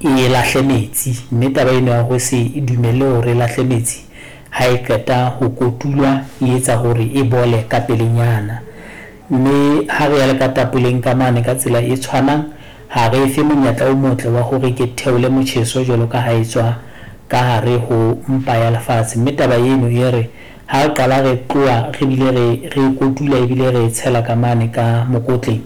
E lahle metsi, mme taba eno ya ho se e dumelle hore e lahle metsi ha e qeta ho kotulwa e etsa hore e bole ka pelenyana. Mme ha re ya le ka tapoleng ka mane ka tsela e tshwanang, ha re e fe monyetla o motle wa hore ke theole motjheso jwalo ka ha e tswa ka hare ho mpa ya lefatshe. Mme taba eno e re ha re qala re tloha re bile re re e kotula ebile re e tshela ka mane ka mokotleng,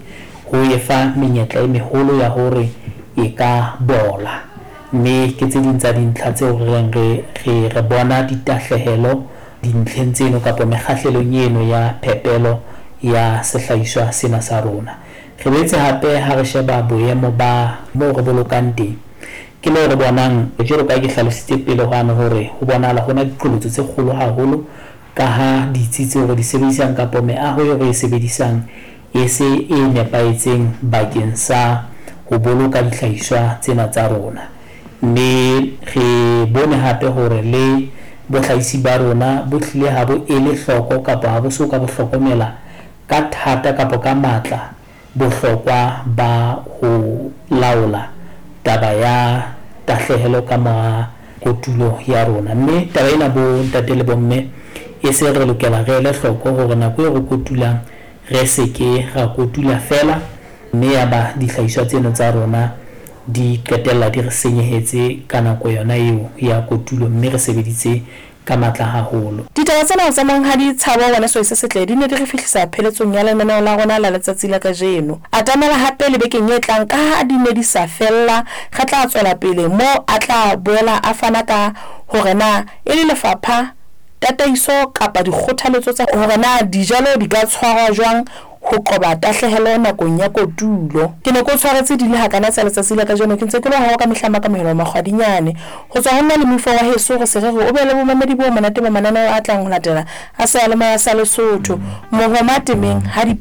ho e fa menyetla e meholo ya hore e ka bola. Mme ke tse ding tsa dintlha tseo re reng re re re bona ditahlehelo dintlheng tseno kapa mekgahlelong eno ya phepelo ya sehlahiswa sena sa rona. Re boetse hape ha re sheba boemo ba moo re bolokang teng, ke moo re bonang jwalo ka ha ke hlalositse pele hwane hore ho bonahala ho na diqholotso tse kgolo haholo ka ha ditsi tseo re di sebedisang kapa meaho eo re e sebedisang e se e nepahetseng bakeng sa ho boloka dihlahiswa tsena tsa rona. Mme re bone hape hore le bohlahisi ba rona bo hlile ha bo ele hloko kapa ha bo so ka bo hlokomela ka thata kapa ka matla bohlokwa ba ho laola taba ya tahlehelo ka mora kotulo ya rona. Mme taba ena bo ntate le bomme e se re lokela re ele hloko hore nako eo re kotulang re se ke ra kotula feela mme yaba dihlahiswa tseno tsa rona di qetella di re senyehetse ka nako yona eo ya kotulo mme re sebeditse ka matla haholo. Ditaba tsena tsa Monghadi Tshabo Ngwaneso se setle di ne di re fihlisa pheletsong ya lenaneo la rona la letsatsi la kajeno. Atamela hape le bekeng e tlang kaha di ne di sa fella, re tla tswela pele moo a tla boela a fana ka hore na e le lefapha, tataiso kapa dikgothaletso tsa hore na dijalo di ka tshwarwa jwang ho qoba tahlehelo nakong ya kotulo. Ke ne ke o tshwaretse di le hakana tsa letsatsi la kajeno, ke ntse ke lo hawa ka mehla makamohelo makgwadinyane. Ho tswa ho nna le moifo wa heso re se re re o be le bomamedi bo monate ba mananeo a tlang ho latela a seyalemoya sa Lesotho. Mohoma temeng ha di.